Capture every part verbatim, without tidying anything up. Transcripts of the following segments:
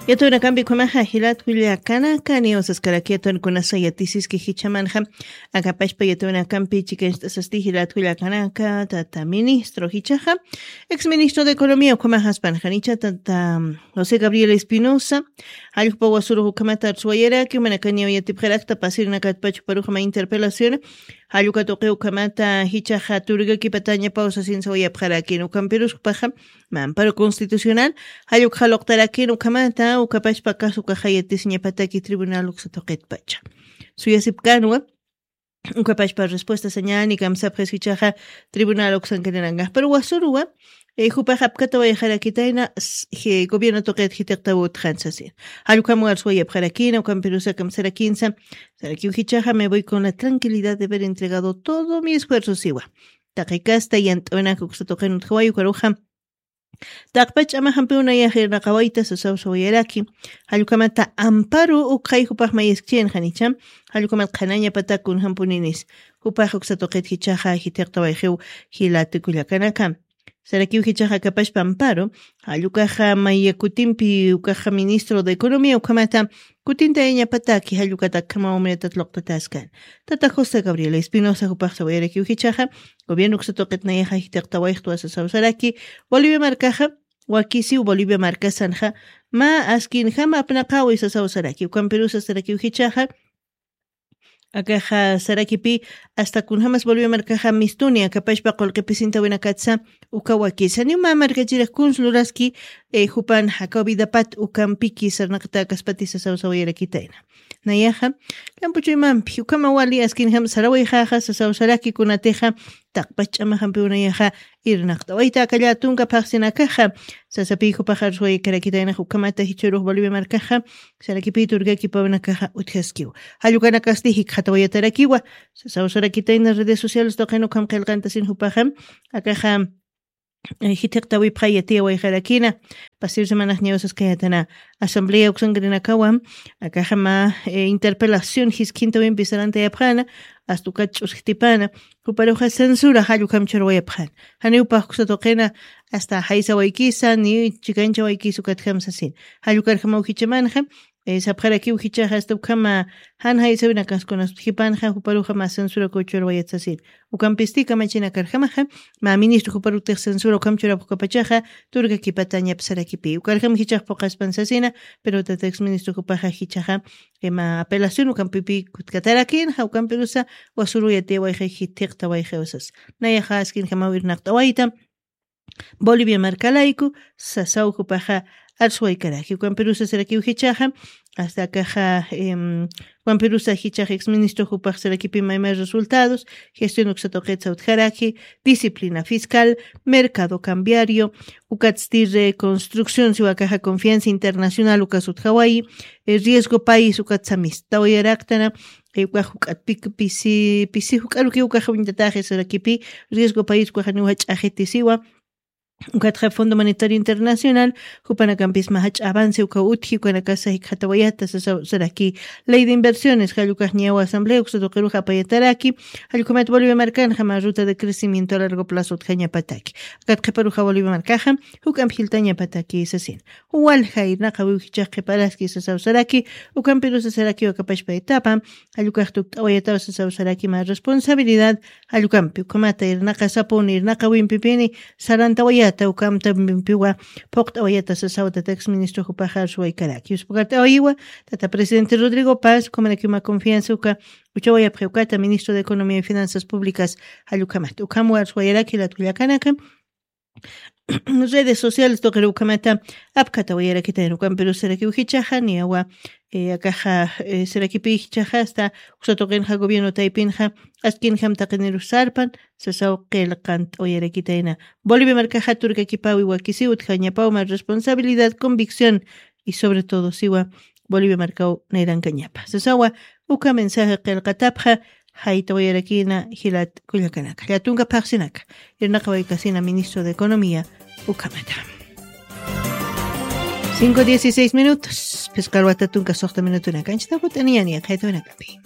Yatawinakampi ukhamaxa jilat kullakanaka, niwsaskaraki yatawinakunasa yatisiski jichhamanxa. Akapashpa yatawinakampi chikancht'asasti jilat kullakanaka, tata ministro jichhaxa, ex ministro de Economía ukhamaxaspanxanicha tata José Gabriel Espinosa, jallkupa wasurux ukhamata arsuwayaraki, umanakaniw yatipxarakta pasirinakatpachu paruxama interpelación, jalluka tuqi ukhamata jichhaxa turgakipatañapaw sasin sawayapxarakin, ukampirus jupaxa, mamparo constitucional, jallukxa luqtarakin ukhamata, ukapashpa kasu ukaxa yatisiñapataki tribunal uksa tuqitpacha. Suyasipkanwa, ukapashpa respuesta sañani kamsapxis jichhaxa tribunal uksankarinankax. Pero wasuruwa, eh, jupax apkatawayxarakitayna, s-, je-, gobierno tuqit jitiqtaw utxan sasin. Jallukam warsuwayapxarakina, ukampirusa kamsarakinsa, sarakiw jichhaxa me voy con la tranquilidad de haber entregado todo mi esfuerzo siwa. Taqi kasta yant'awinak uksa tuqin utjawayi ukaruxa. Taqpach ch'amaxampiw nayax irnaqawayta sasaw sawayaraki. Jallkamata amparo ukxay jupax mayaskchinxanicha. Jallkamata qhanañapatak kunjampuninis. Jupax uksa tuqit jichhaxa jithiqtawayxiw jilati kullakanaka. Sarakiw jichhaxa kapashpa amparo. Jallukaxa maya kutimpi ukaxa ministro de economía ukhamata kutintayañapataki jallukata akhamaw mayatat luqtataskan. Tata José Gabriel Espinosa jupax sawayarakiw jichhaxa. Gobierno uksa tuqit nayaxa jithiqtawayxtwa sasaw saraki, Bolivia markaxa, wakisiw Bolivia markasanxa, mä askinjama apnaqawi sasaw saraki, ukampirusa sarakiw jichhaxa, akaxa sarakipi, hasta kunjamas Bolivia markaxa mistuni akapashpa qullqi pisintawinakatsa, uka wakisa, niw mä markachirix kuns luraski, eh, jupan jakaw vidapat ukampiki sarnaqta akaspati sasaw sawayarakitayna. Nayaxa, kampuchuymampi, ukhama wali askinjam sarawayxaxa, sasaw saraki kunatixa, taqpach ch'amaxampiw nayaxa, irnaqtawayta aka llätunka phaxsinakaxa, sasapiy jupax arsuwaykarakitaynax ukhamata jichhürux Bolivia markaxa, sarakipiy turkakipawinakaxa utjaskiw. Jallukanakasti jikxatawayatarakiwa, sasaw sarakitayna redes sociales tuqin ukham qillqantasin jupaxa, akaxa, eh, jithiqtawipxay yatiyawayxarakina, pasir semanax ñawsaskayatana asamblea uksankarinakawa, akaxa mä, eh, interpelación jiskhintawimpi sarantayapxana, hasta ukat ch'usktipana, juparuxa censura jallukam churwayapxana. Janiw pax uksa tuqina, hasta jaysawaykisa, ni chikanchawaykisa ukatjam sasin. Jallukarjamaw jichhamanxa, eh, sapxarakiw jichhaxa hasta ukhama jan jaysawinakas kunas utjipanxa, juparuxa mä censura kuchurwayat sasin. Ukampisti kamachinakarjamaxa, mä ministro juparutix censura ukham churapxukapachaxa, turkakipatañap sarakipi. Ukarjam jichhax phuqaspan sasina, pero tata ex ministro jupaxa jichhaxa, eh, mä apelación ukampipi kutkatarakinxa, ukampirusa wasuru yatiyawayxi jithiqtawayxiw sas. Nayaxa askinjamaw irnaqtawayta, Bolivia markalayku, sasaw jupaxa arsuwaykaraki. Ukampirusa sarakiw jichhaxa, hasta akaxa, em, ukampirusa jichhax ex ministro jupax sarakipi maymay resultados, gestión uksa tuqitsa utjaraki, disciplina fiscal, mercado cambiario, ukatsti reconstrucción, siwa akaxa confianza internacional ukas utjawayi, eh, riesgo país ukatsa mistawayaraktana, eh, ukax juk'at pik-, pisi, pisi juk'aruki ukaxa uñtataxi sarakipi, riesgo país ukaxa niw jach'a jiti siwa, Ukatxa Fondo Monetario Internacional, jupanakampis mä jach'a avance ukaw utji, ukanakasa jikxatawayata, sasa, saraki Ley de Inversiones, jallukax ñawa asamblea uksa tuqirux apayataraki, jallukhamat Bolivia markanxa mä ruta de crecimiento a largo plazo utjañapataki. Akat qhiparuxa Bolivia markaxa, juk'amp jiltañapataki, sasin. Walja irnaqawiw jichhax qhiparaski, sasaw saraki, ukampirusa saraki wakapashpa etapa, jallukax tukt'awayataw, sasaw saraki, mä responsabilidad, Jallukampi, ukhamata irnaqasapuni, irnaqawimpipini, sarantawayata, ukamtampiwa, phuqt'awayata, sasaw tata ex ministro jupaxa arsuwaykaraki. Yuspakart'awayiwa, tata presidente Rodrigo Paz, ukhamarakiw mä confianza uka, uchawayapxi ukata, ministro de Economía y Finanzas Públicas, jallukhamata. Ukham arsuwayaraki, jilat kullakanaka, redes sociales tuqir ukhamata apkatawayarakitayna, ukampirusa sarakiw jichhaxa, niyawa, eh, akaxa, eh, sarakipi jichhaxa, hasta uksa tuqinxa gobierno taypinxa, askinjam taqinirus sarpan, sasaw qillqant'awayarakitayna. Bolivia markaxa turkakipawi wakisiw utjañapaw mä responsabilidad, convicción, y sobre todo siwa Bolivia markaw nayrankañapa. Sasawa, uka mensaje qillqatapxa, jaytawayarakina jilat kullakanaka. Llätunka phaxsinaka. Irnaqawaykasina ministro de Economía, ukhamata. Cinco dieciséis minutos. Phisqa alwata tunka suxta minutunaka. Anchita jut'aniya niya, jaytawinakapi.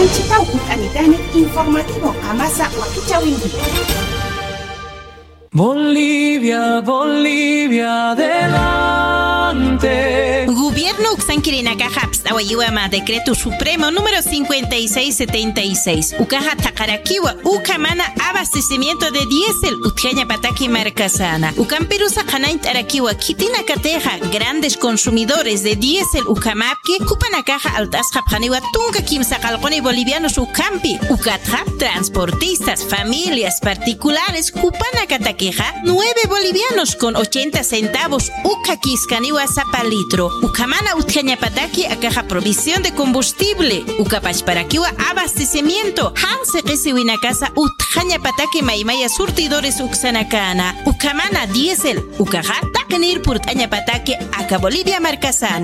Anchita jut'anitani informativo qamasa wakichawinki. Bolivia, Bolivia, adelante. Gobierno uksankirinakaxa apst'awayiwa mä decreto supremo número cincuenta y seis setenta y seis. Ukaxa thaqarakiwa ukhamana abastecimiento de diésel utjañapataki markasana. Ukampirusa qhanañt'arakiwa khitinakatixa grandes consumidores de diésel ukhamapki, jupanakaxa alt'asxapxaniwa tunka kimsa qallquni bolivianos ukhampi. Ukatxa transportistas, familias particulares jupanakatakixa nueve bolivianos con ochenta centavos ukhakiskaniwa sapa litro. Ukhamana utjañapataki akaxa provisión de combustible, ukapachparakiwa abastecimiento, jan siqisiwinakasa utjañapataki maymaya surtidores uksanakana. Ukhamana diésel, ukaxa taqinir purt'añapataki aka Bolivia markasana.